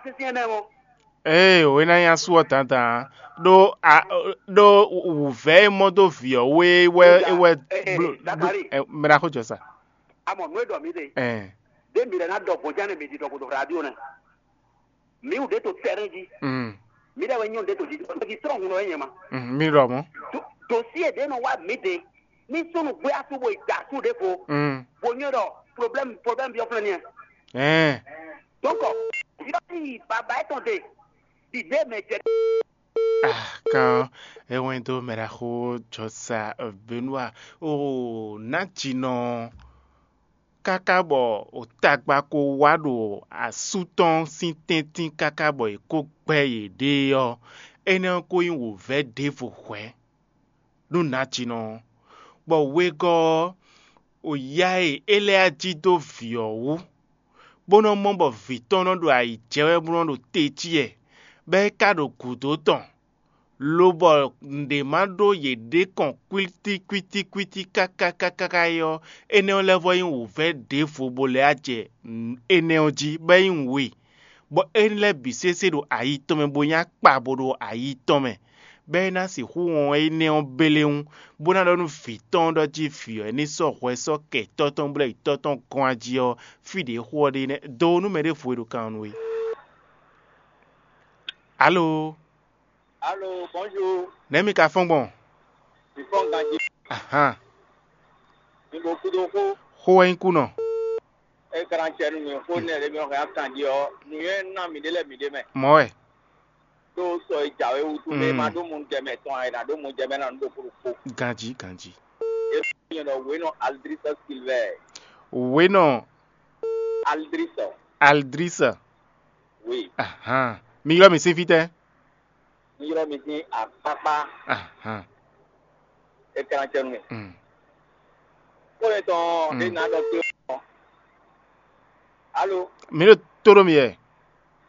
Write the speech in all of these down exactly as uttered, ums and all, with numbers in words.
Sínsɛ́n nɛ́ mɔ. Ee, wěná nyí asú ɔ́ dandan, ɖó a ɖó wǔvɛ́ e mɔ dó vǐ ɔ́ wú é wɛ é wɛ Ee, bló- bló- Zakari. Ɛ, mɛ ɖaxó jɔ sa. Amɔ nǔ e ɖɔ mǐ ɖe, Ɛn, ɖé mǐ lɛ́ ná ɖɔ gbɔn jɛ́n nɛ mǐ ɖi ɖɔ gǔdo radio nɛ. Mǐ wǔ ɖé to tɛ́rɛ́n jí. Mm, Mǐ lɛ́ wɛ nyɔ́ ɖé to jí. Ɖo jí trɔ́n hun ɔ́ nyɛ ma. Mm, mi ɖɔ mɔ̌. Dosie ɖě nɔ wá mǐ ɖe. Ní súnnu gbé asú bo yi da asú ɖěvo. Mm, Bo nyɔ́ ɖɔ problème problème biɔ flɛ́n niɛ. Ɛn, Donc, yɔ yi baba etɔn ɖe. Ɖiɖe mɛ jɛ. Ah, kan ewɛn dó mɛ ɖaxó jɔ sa Benua o ná jinɔ káká bɔ o tagba ko wá ɖo asú tɔn sín tɛ́ntin káká bɔ è kó gbɛ́ yěɖée ɔ́, énɛ́ ɔ́ ko nyí wǒvɛ́ ɖěvo hwɛ̌ nú nǎjinɔ ɔ́, bɔ wegɔ́ ɔ́, o yá e é lɛ́ jí dó vǐ ɔ́ wú, bó nɔ́ mɔ bɔ vǐ tɔn nɔ ɖo ayǐ jɛ wɛ bó nɔ́ ɖo te jí wɛ, bɔ é ka ɖo gǔdo tɔn, lobɔ nǔɖé ma ɖó yěɖée kɔn kwítíkwítíkwítí káká káká káká é ɔ́, énɛ́ ɔ́ lɛ́ vɔ nyí wǔvɛ́ ɖěvo bó lɛ́ wá jɛ énɛ́ ɔ́ jí, bɔ é nyí nǔ e bɔ énɛ́ lɛ́ɛ bǐ sésé ɖo ayi tɔn mɛ bó nyí akpa bo ɖo ayi tɔn mɛ, bɔ é ná sixú wɔn énɛ́ ɔ́ bélé wú, bó ná ɖɔ nú vǐ tɔn ɔ́ ɖɔ jí vǐ ɔ́ ní sɔ́ hwɛ sɔ́ kɛ tɔ́ tɔn bó lɛ́ yi tɔ́ tɔn gɔ́n ají ɔ́, fí ɖě xo ɔ́ ɖe nɛ́. Do nú mɛ ɖěvo e ɖo kan ɔ́ nú we. Alo, Alo, bonjour. Nɛ̌ mi ka fɔ́n gbɔn? Mi fɔ́n ganjí. Ahan, Mi bo kúdó xó. Xó wɛ nyí kú nɔ. É ka ná cɛ nú mi xó nɛ lě mi hɛn akan jí ɔ́, nǔnywɛ́ ná mi ɖé lɛ́ɛ mi ɖé mɛ. Mɔ̌ wɛ. Ɖó sɔ e jǎwe wútu mɛ Mm. ma ɖó mu jɛ mɛ tɔn ɛ ná ɖó mu jɛ mɛ ná nú ɖo kúɖu kpó. Ganjí, ganjí. É nyɛ ɖɔ wěnɔ Aldrisa Silvɛ. Wěnɔ Aldrisa. Aldrisa. Oui. Ahan. Mi ylɔ́ mi sín fítɛ́? Mi ylɔ́ mi sín akpákpá. Ahan. É ka ná cɛ nú mi. Mm. Xó e tɔn Mm. ɖé ná ɖɔ kpé ɔ́. Alo, Mi ɖo tó ɖó mi yɛ.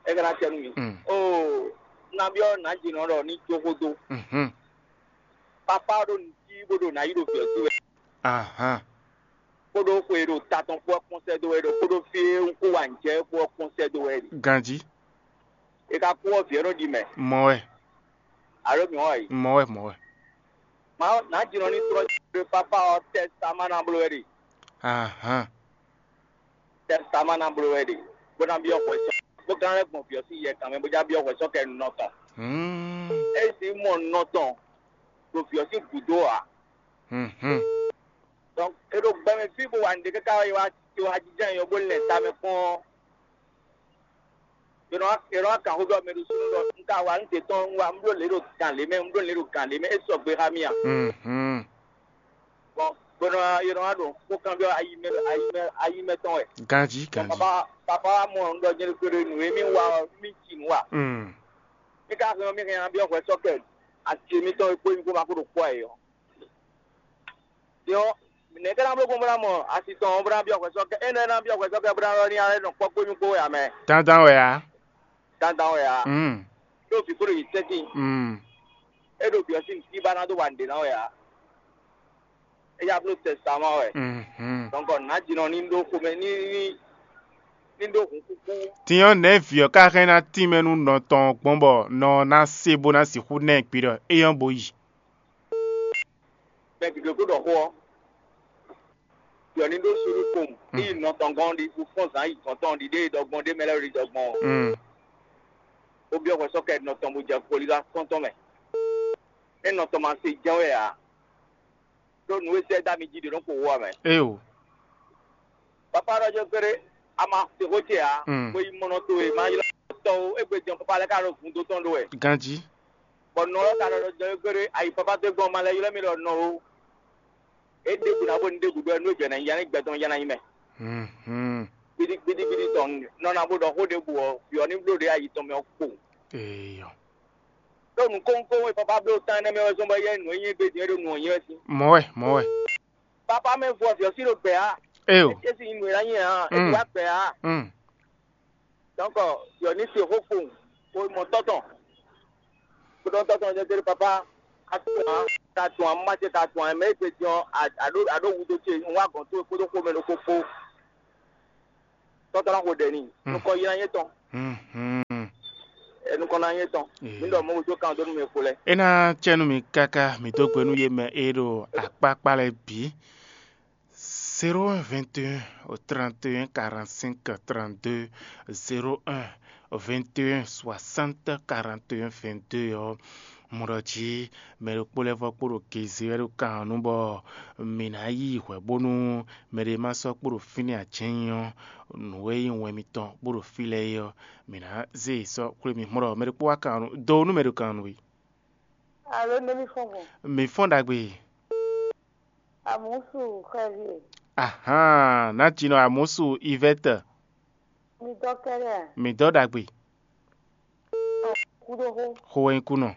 É ka ná cɛ nú mi. Mm. Oo, nabí ɔ́ nǎ jǐnɔ ɖɔ ní jó xó dó. Mhm. Papá ɔ́ ɖo nǔ cí bó ɖo nǎ yí ɖo vǐ ɔ́ sí wɛ. Ahan. Kpódó xwe e ɖo ta tɔn kpó ɔ́ kpɔ́n sɛ́ dó wɛ ɖo kpódó fí e un kó wa nǔ jɛ é kpó ɔ́ kpɔ́n sɛ́ dó wɛ ɖe. Ganjí. É ka kú ɔ́ vǐ ɔ́ nɔ ɖi mɛ. Mɔ̌ wɛ. Alo mǐ wá yi. Mɔ̌ wɛ, mɔ̌ wɛ. Má nǎ jínɔ ní trɔ́ ɖe pápá ɔ́ tɛ́ sa má ná bló wɛ ɖe. Ahan. Tɛ́ sa má ná bló wɛ ɖe. Bó ná byɔ́ hwɛ sɔ́. Bó gán lɛ́ gbɔn vǐ ɔ́ sín yɛ kan mɛ bó já byɔ́ hwɛ sɔ́ kɛ nɔ tɔn. Hmm. É sǐ mɔ nɔ tɔn ɖo vǐ ɔ́ sín gǔdo ǎ. Mhm. Donc é ɖo gbɛmɛ fí bó wa nǔɖé káká wá yi wá yi wá jínjɔ́n ayǐ ɔ́ bó lɛn ta mɛ kpɔ́n. Yɔnɔ yɔnɔ kan xó ɖɔ mɛ ɖo súnú ɖɔ un ka wa un te tɔn un wa un bló lě ɖo gan lě mɛ un bló lě ɖo gan lě mɛ é sɔgbe xá mì a? Mhm. Bɔn gbɔnɔ yɔnɔ wa ɖo xó kan byɔ ayi mɛ ayi mɛ ayi mɛ tɔn wɛ. Ganji, ganji. Papa papa wa mɔ un ɖɔ nyɛ ɖokpó ɖo nǔ e mì wa ɔ́ mì ci nǔ wa. Mm. Mì ka hɛn ɔ́ mì hɛn abyɔ hwɛ sɔkɛ asi mitɔn e kpó nyi kó ma kó ɖo kpɔ́ ɛ ɔ́. Din ɔ́, nɛ̌ ka ná bló gbɔn bó ná mɔ asi tɔn ɔ́ bó ná byɔ́ hwɛsɔ́ kɛ énɛ́ ná byɔ́ hwɛsɔ́ kɛ bó ná ɖɔ ní alɛ nɔ kpɔ́ kpó nyí kpó wɛ ǎ mɛ? Dandan wɛ ǎ. Dandan wɛ ǎ. Mm. Ɖó vǐ kó ɖo yi tɛ́ntin. Mm. É ɖo byɔ̌ sín nǔkí ba ná dó wa nǔɖé ná wɛ ǎ. É yá bló tɛsáma wɛ. Mhm. Dɔnkɔ nǎjinɔ ní ɖó xomɛ ní ní ní ɖó hun kúkú. Din ɔ́, nɛ̌ vǐ ɔ́ ka hɛn ná tínmɛ nú nɔ tɔn ɔ́ gbɔn bɔ nɔ ɔ́ ná se bó ná sixú ná ɛ kpi ɖɔ éyɔ́ bo yi? Mɛ gěgé kó ɖɔ xó ɔ́, yɔ ní ɖó suɖu kpowun, ní yi nɔ tɔn gɔ́n ɖi, fɔ́n zǎn yi gɔ̌n tɔn ɖi ɖé e ɖɔ gbɔn ɖé mɛ lɛ́ɛ ɖi ɖɔ gbɔn ɔ́. Mm. Ó byɔ́ hwɛ sɔ́ kɛ nɔ tɔn bó jɛ kpolíɖá kɔ́ntɔn mɛ. É nɔ tɔn ma se jɛ́n wɛ ǎ, ɖó nǔ e sɛ́ dó ami jí ɖě nɔ kpo wú ǎ mɛ. Éyo. Papa ɖɔ jɛ kpéɖé, a ma se xó ce ǎ, Mm. bó yi mɔnɔ towe, ma ylɔ́ tɔ́ ó, égbé jɛ́n papa lɛ́ɛ ka ɖo vun dó tɔn ɖó wɛ. Ganjí. Bɔ nɔ ɔ́ ka ɖɔ ɖɔ jɛ kpéɖé, ayi papa dó gbɔn ma lɛ́ ylɔ́ mì ɖɔ nɔ ó. É ɖěbǔ ná bó ní ɖěbǔ ɖɔ nú é jɛ ná nyí ya ní gbɛ tɔn ya ná nyí mɛ. Mhm. Gbidi gbidi gbidi tɔn nɔ ná bó ɖɔ xó ɖěbǔ ɔ́, vǐ ɔ́ ní bló ɖě ayi tɔn mɛ ɔ́ kpo. Eyɔ. Ɖó nǔkónkón e papa bló tán énɛ́ mɛ wɛ zɔ́n bɔ éyɛ́ nǔ e nyí égbé din é ɖo nǔ ɔ́ nyí wɛ sín. Mɔ̌ wɛ, mɔ̌ wɛ. Papa mɛ vo ɔ́, vǐ ɔ́ sí ɖo gbɛ ǎ. Éyo. É sí nyi nǔ e ná nyí ǎ, é Mm. wá gbɛ ǎ. Mm. Donc, vǐ ɔ́ ní se xó kpowun, bó mɔ tɔ́ tɔn. Kpódó tɔ́ tɔn jɛ dó papa, a tún ǎ, ka tún ǎ, má ce ka tún ǎ, mɛ é gbe din ɔ́, a ɖó a ɖó wudo ce, un wá gɔ̌n towe kpódó xomɛ ɖokpó kpó. Tɔ́ tɔn ná xo ɖɛ n'i, Mm. nukɔn yi ná nyɛ tɔn. Mhm. Tɔn ná nyɛ tɔn. Mi ɖɔ mɔ wútu kan dó nú mi xo lɛ. É ná cɛ nú mi káká, mi dó gbe nú yě mɛ e ɖo akpákpá lɛ́ɛ bǐ. Zéro un vingt et un trente et un quarante-cinq trente-deux, zéro un vingt et un soixante quarante et un vingt-deux ɔ́, mɔ ɖɔ jí mɛ ɖokpó lɛ́ɛ vɔ kpo ɖo gezi wɛ ɖo kan ɔ́ nu bɔ mǐ ná yí hwɛ bónú mɛ ɖé ma sɔ́ kpo ɖo fínɛ́ ǎ. Jɛ́n nyí ɔ́, nǔ e nyí wɛn mitɔn bó ɖo fí lɛ́ɛ é ɔ́, mǐ ná zé yě sɔ́ xwlé mi. Mɔ ɖɔ mɛ ɖokpó wá kan ɔ́ nu, do nú mɛ ɖo kan ɔ́ nu wɛ. Alo, nɛ́ mi fɔ́n gbɔn? Mǐ fɔ́n ɖagbe. Amusu xɛvi. Ahán, ná jinɔ Amusu Ivɛtɛ. Mi dɔ kɛɖɛ a? Mǐ dɔ ɖagbe. Kuɖoxo. Xo wɛ nyí kunɔ.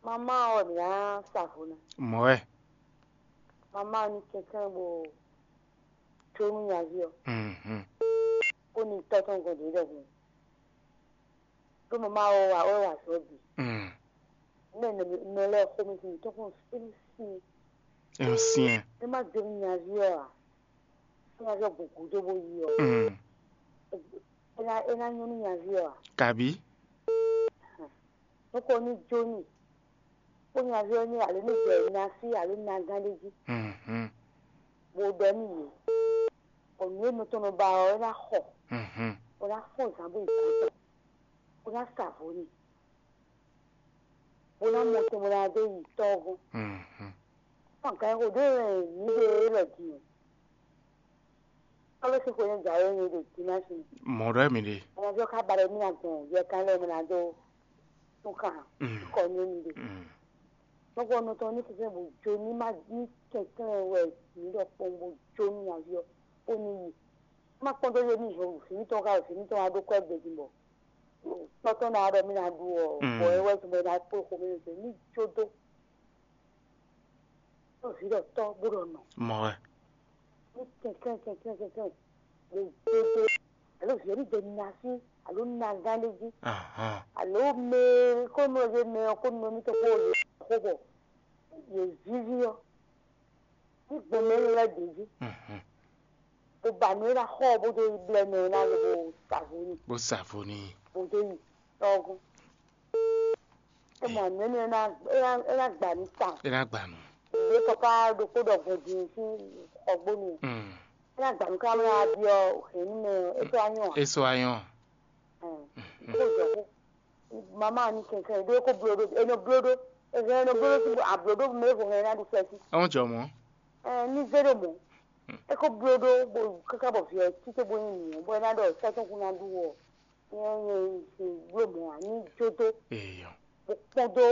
Mama ɔ mǐ ná sa vo ná. Mɔ̌ wɛ. Mama ɔ ní kɛnklɛ́n bo jó nú nyaví ɔ. Mhm. Kó ní tɔ́ tɔn gɔn dě ɖɔhun. Ɖó mama ɔ wá wɛ wá zɔ bǐ. Mm. Mɛ nɔ lɛ xo mi sin tɔn kɔn fín sin. É ń syɛn. Ní má jó nú nyaví ɔ a? Ní nyaví ɔ gbogbo dó bó yi ɔ. Mm. É ná é ná nyɔ́ nú nyaví ɔ a? Kabí. Nukɔn ní jó n'i, kó nyaví ɔ́ ní alo ní jɛ ná sí alo ní ná gán ɖé jí, Mhm. Bó ɖɔ nú yě, bɔ nǔ e nɔ tɔn nɔ ba ɔ́, é ná xɔ, Mhm. Bó ná fɔ́n zǎn bó yi gǎn tɔn, bó ná sa vo n'i, bó ná mɔ tɔn bó ná dó yi tɔ́ ɔ́ gɔ́n. Mhm. Fɔ́n gǎn xo ɖé wɛ mǐ ɖe élɔ́ din ɔ́. Ɔ́ lɛ́ sín xwe nyí jǎwe nyí ɖo Dimási. Mɔ̌ ɖɔ mì ɖe. Ɛnɛ ví ɔ́ ká ba ɖɔ mí ná gbɔn yɛ kan lɛ́ɛ mɛ ná dó tún kan Mm. Kɔ ní mì ɖe. Mm. Nɔgbɔ nɔ tɔn ní kɛkɛ bó jó ní má ní kɛnklɛ́n wɛ mǐ ɖɔ kpɔn bó jó ní nyaví ɔ́ kó ní yi. Má kpɔ́n dó yé ní hɛn vǐ mítɔn ká vǐ mítɔn wá ɖó kɔ́ gbèdì bɔ tɔ́tɔ́ ná ɖɔ mí ná ɖu ɔ Mm. Bɔ é wɛ tún bɔ é ná kpó xomɛ ní jó dó. Ɖo vǐ ɖɔ tɔ́ bó ɖɔ nɔ. Mɔ wɛ. Ní kɛnklɛ́n kɛnklɛ́n kɛnklɛ́n. Ɖo dodo alo vǐ ɔ́ ní jɛ ná sí alo ná gán ɖé jí. Ahán. Alo mɛ kó nɔ yé mɛ ɔ́ kó nɔ mítɔn kó yě xó bɔ yě víví ɔ́. Ní gbɔn mɛ énɛ́ lɛ́ɛ bǐ jí. Mhm. Bó ba nǔ e ná xɔ ɔ́ bó dó yi blɛ́ mɛ ɔ́ ná lobo sa vo n'i. Bó sa vo n'i. Bó dó yi tɔ́gɔ́n. É mɔ nǔ énɛ́ ná é ná é ná gbà mí tawun. É ná gbà nú. Ɖě papa ɖokpó ɖɔ gbɔn din sín xɔgbónu. Mm. É ná gbà mí ká mɛ ná byɔ́ hɛ̌nnu mɛ ɔ́, é sɔ́ wá nyɔ́ ǎ. É sɔ́ wá nyɔ́ ǎ. Kó jɔ xó. Mama ni kɛnkɛn ɖó kó bló ɖó, é nɔ bló ɖó. É hɛn é nɔ bló ɖó sín abló ɖó mɛ vo hɛn ná ɖu fɛ́sí. É wọ́n jɔ mɔ̌. Ní zé ɖo mɔ̌. É kó bló ɖó bó káká bɔ vǐ ɔ́ tító bó nyi nǔ ɔ́, bɔ é ná ɖɔ sɛ́ tɔn kún ná ɖu ɔ́. Nyɛ nyɛ sin bló mɔ̌ ǎ, ní jó dó. Eyɔ. Bó kpɔ́n dó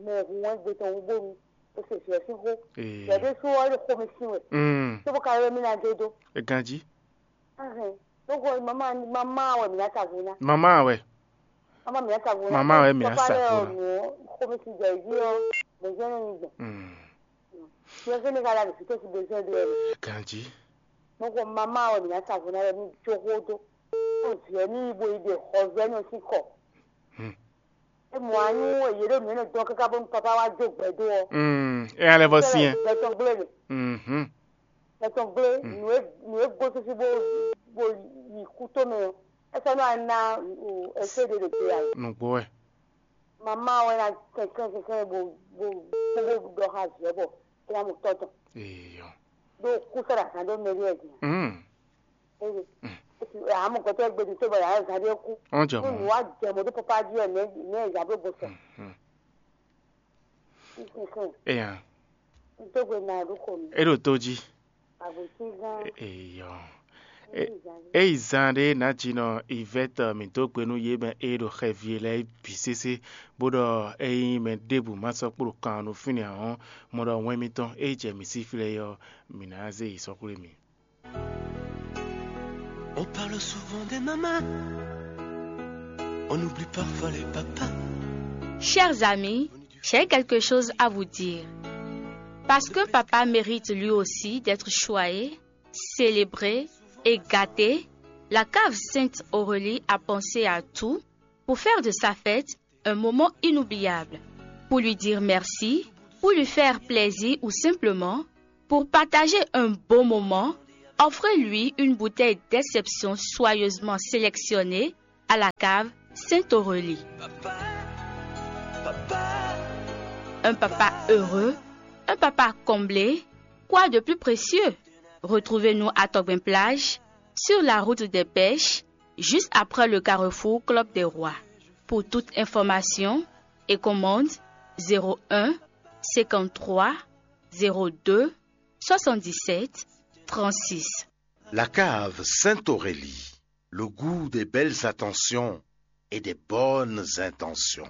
mɛ hun wɛn gbe tɔn wú bónu é se vǐ ɔ́ sín xó. Eyɔ. Vǐ ɔ́ ɖésú ɔ́ é ɖo xomɛ sin wɛ. Mm. Tó bó ka ylɔ́ mì ná jó dó. É ganjí. Ahɛn. Lóko mama mama wɛ mǐ ná sa vo ná. Mama wɛ. Mama mǐ ná sa vo ná. Mama wɛ mǐ ná sa vo ná. Papa lɛ ɔ́ nǔ ɔ́ xomɛ sin jɛ jí ɔ́, bɛ̌ jẹ́ ní gbɔn. Mm. Yɛ fɛnɛ ka la ɖo fítɛ́ si bɛ́ jẹ́ ɖe ɔ́. Ganjí. Lóko mama wɛ mǐ ná sa vo ná wɛ ní jó xó dó. Ó vǐ ɔ́ ní yi bo yi ɖe xɔzɛ́nɔ sín kɔ. Hmm. É mɔ anyi wɛ yě ɖo nǔ énɛ́ dɔn káká bónú papa wá jó gbɛ̌ dó ɔ́. Mm, é alɛ vɔ syɛn. Gbɛ tɔn gblé mɛ. Mhm. Gbɛ tɔn gblé nǔ e nǔ e gosín bó bó yi kútó mɛ ɔ́, é sɔ́ nɔ ná ɛsé ɖé ɖo te ǎ. Nǔgbó wɛ. Mama wɛ ná kɛnklɛ́n kɛnklɛ́n bó bó bó bó ɖɔ xá vǐ ɔ́ bɔ é ná mɔ tɔ́ tɔn. Eyɔ. Ɖó kú sɔ́ ɖo azǎn ɖó mɛ ɖé wɛ din. Mm. Eye esi amɔ gbɛtɔ gbɛdun tó bɔ yàrá zan ɖé kú. Ɔn jɔ mɔ. Nínú wa jẹ mọ tó papa jí ẹ nẹ nẹ ìyá bó gbó sọ. Mhm. Nísinsìnyí Eya. Nítorí náà ló kọ mi. Eɖo tó jí. Àbòsí gan. Eyɔ. Ní ìyá. Eyi zan ɖé nǎjínɔ Yvette mǐ dó gbe nú yě mɛ e ɖo xɛvi e lɛ́ɛ bǐ sésé, bó ɖɔ ényí mɛ ɖěbǔ ma sɔ́ kpló kan ɔ́ nú fínɛ́ ɔ́, mɔ ɖɔ wɛn mitɔn e jɛ mǐ sí flɛ́ é ɔ́, mǐ ná zé yi sɔ́ xwlé mì. On parle souvent des mamans, on oublie parfois les papas. Chers amis, j'ai quelque chose à vous dire. Parce que papa mérite lui aussi d'être choyé, célébré et gâté, la cave Sainte Aurélie a pensé à tout pour faire de sa fête un moment inoubliable. Pour lui dire merci, pour lui faire plaisir ou simplement pour partager un bon moment, offrez-lui une bouteille d'exception soigneusement sélectionnée à la cave Sainte Aurélie. Un papa heureux, un papa comblé, quoi de plus précieux? Retrouvez-nous à Togben Plage, sur la route des pêches, juste après le carrefour Club des Rois. Pour toute information et commande, zéro un, cinquante-trois, zéro deux, soixante-dix-sept, trente-six. La cave Sainte-Aurélie, le goût des belles attentions et des bonnes intentions.